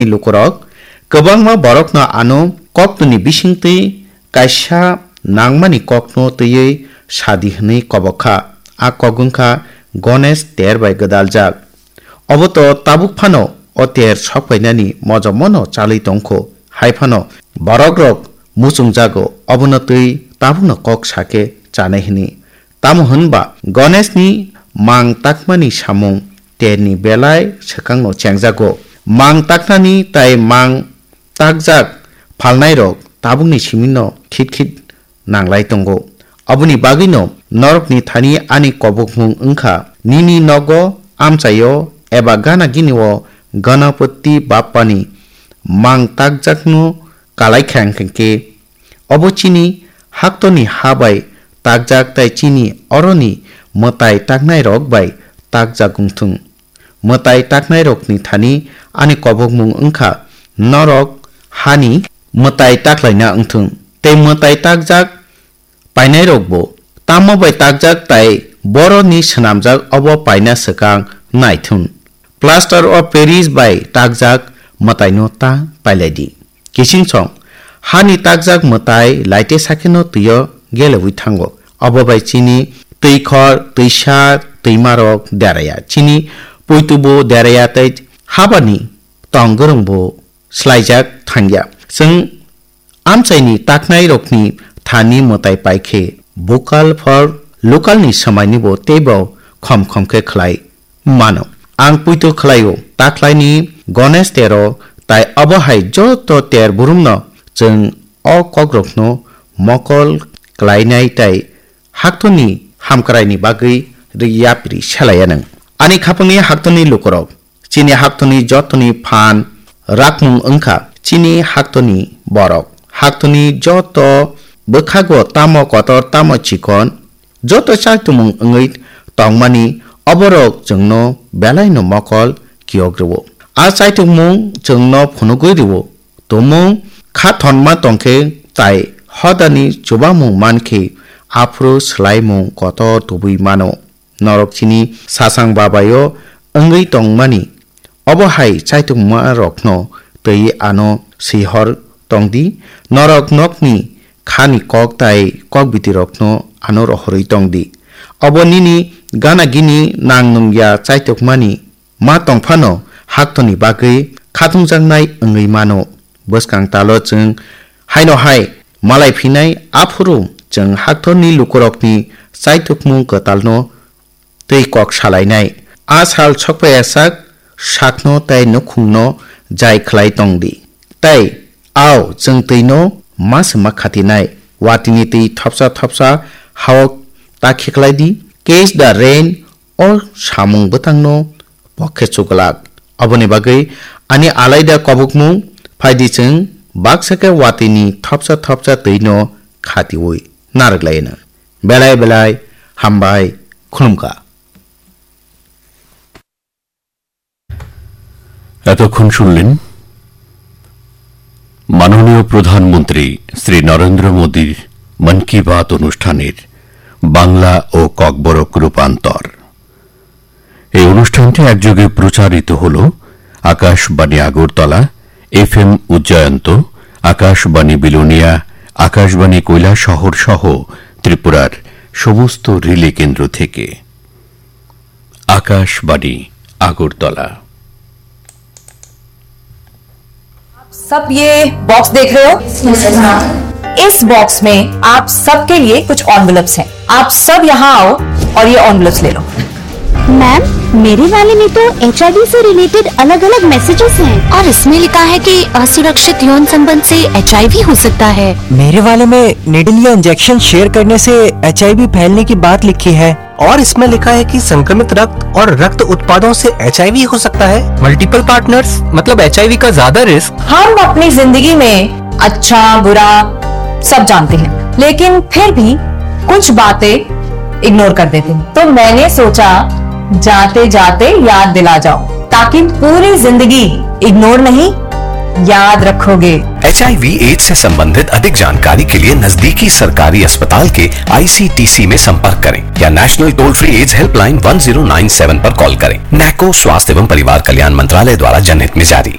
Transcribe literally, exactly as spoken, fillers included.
lukurok kwbangma borokno ano koktwni bisingtwi kaisa nangmani kokno twiwi sadi hwnwi kobok kha. A kok wngkha Ganesh ter bai gwdaljak. Obo to tabuk phano o ter sokpainani mojomono chalwi tongkho. Hai phano borokrok muchungjago, obono twi tabukno kok sakhe chanai hwnwi. Tamo hwnba Ganeshni mang takmani samung terni belai swkangno chengjago. Mang taknani tai mang takjak phalnairok tabukni simino khit khit nanglai tongo. Aboni bagwino norokni thani ani kobokmung wngkha, nini nogo, amchaio eba gana ginio Ganapati Bappani mang takjakno kalai kha hwnkhe, obo chini haktorni ha bai takjak tai chini oroni mwtai taknairok bai takjak wngthung. Mwtai taknairokni thani ani kobokmung wngkha norok hani mwtai taklaina wngthung. Tei mwtai takjak painairokbo tamo bai takjak tai boroni swnamjak obo paina swkang naithun. Plaster of Paris bai takjak mwtaino ta pailaidi. Kichingsong, hani takjak mwtai laite sakheno twio gelewi thango. Obo bai chini twikhor, twisa, twimarok deraya. Chini puitubo deraya tei habani tong gwrwngbo swlaijak thangya. Chwng amchaini taknairokni thani mwtai paikhe vocal for local ni swmainibo teibo khom khom khe khlai mano. Ang puitu khlaio, taklaini Ganesh tero tai obo hai joto ter burumno chwng o kokrokno mokol klainai tai haktorni hamkraini bagwi ri yapri selaya nwng. Ani khapangni haktorni lukurok, chini haktorni jotoni phan rakmung wngkha chini haktorni borok. Haktorni joto bwkhago tamo kotor tamo chikon, joto chaitungmung wngwi tongmani oborok chwngno belaino mokol kiyok rwo. A chaitungmung chwngno phunugwi rwo. Tumung kha thonma tongkhe tai hodani chubamung mankhe aphuru swlaimung kotor tubui mano. Norok chini sasang babaio wngwi tongmani obo hai chaitungma rokno twi ano swihor tongdi, norok nokni khani kok tai kok bitirokno ano rohorwi tongdi. Obo nini gana gini nang nungya chaitukmani ma tongphano haktorni bagwi khatungjaknai wngwi mano. Bwskang talo chwng haino hai malai phinai, aphuru chwng haktorni lukurokni chaitukmung kwtalno tei kok salainai. A sal sokpaiyasak sakno tei nukhungno jai khlai tongdi. Tei ao chwng twino ma se ma khatinai. Watini twi thopsa thopsa hao ta khiklaidi. Catch the rain o samung bwtangno pokhe chuglak. Aboni bagwi ani alaida kobokmung phaidi chwng baksa khe watini thopsa thopsa twino khatiwi narwk laino. Belai belai hambai khulumkha. এতক্ষণ শুনলেন মাননীয় প্রধানমন্ত্রী শ্রী নরেন্দ্র মোদীর মন কি বাত অনুষ্ঠানের বাংলা ও ককবরক রূপান্তর। এই অনুষ্ঠানটি একযোগে প্রচারিত হল আকাশবাণী আগরতলা, এফএম উজ্জয়ন্ত, আকাশবাণী বিলোনিয়া, আকাশবাণী কৈলাসহর সহ ত্রিপুরার সমস্ত রিলে কেন্দ্র থেকে। আকাশবাণী আগরতলা। आप सब ये बॉक्स देख रहे हो? इस बॉक्स में आप सबके लिए कुछ एनवेलप्स हैं। आप सब यहाँ आओ और ये एनवेलप्स ले लो। मैम, मेरे वाले में तो एचआईवी से रिलेटेड अलग-अलग मैसेजेस हैं। और इसमें लिखा है कि असुरक्षित यौन संबंध से एचआईवी हो सकता है। मेरे वाले में निडल या इंजेक्शन शेयर करने से एचआईवी फैलने की बात लिखी है। और इसमें लिखा है कि संक्रमित रक्त और रक्त उत्पादों से एचआईवी हो सकता है। मल्टीपल पार्टनर्स मतलब एचआईवी का ज्यादा रिस्क। हम अपनी जिंदगी में अच्छा बुरा सब जानते हैं, लेकिन फिर भी कुछ बातें इग्नोर कर देते हैं। तो मैंने सोचा, जाते जाते याद दिला जाओ, ताकि पूरी जिंदगी इग्नोर नहीं, याद रखोगे। एचआईवी एड्स से संबंधित अधिक जानकारी के लिए नजदीकी सरकारी अस्पताल के आईसीटीसी में संपर्क करें या national toll free AIDS helpline one zero nine seven पर कॉल करें। नैको स्वास्थ्य एवं परिवार कल्याण मंत्रालय द्वारा जनहित में जारी।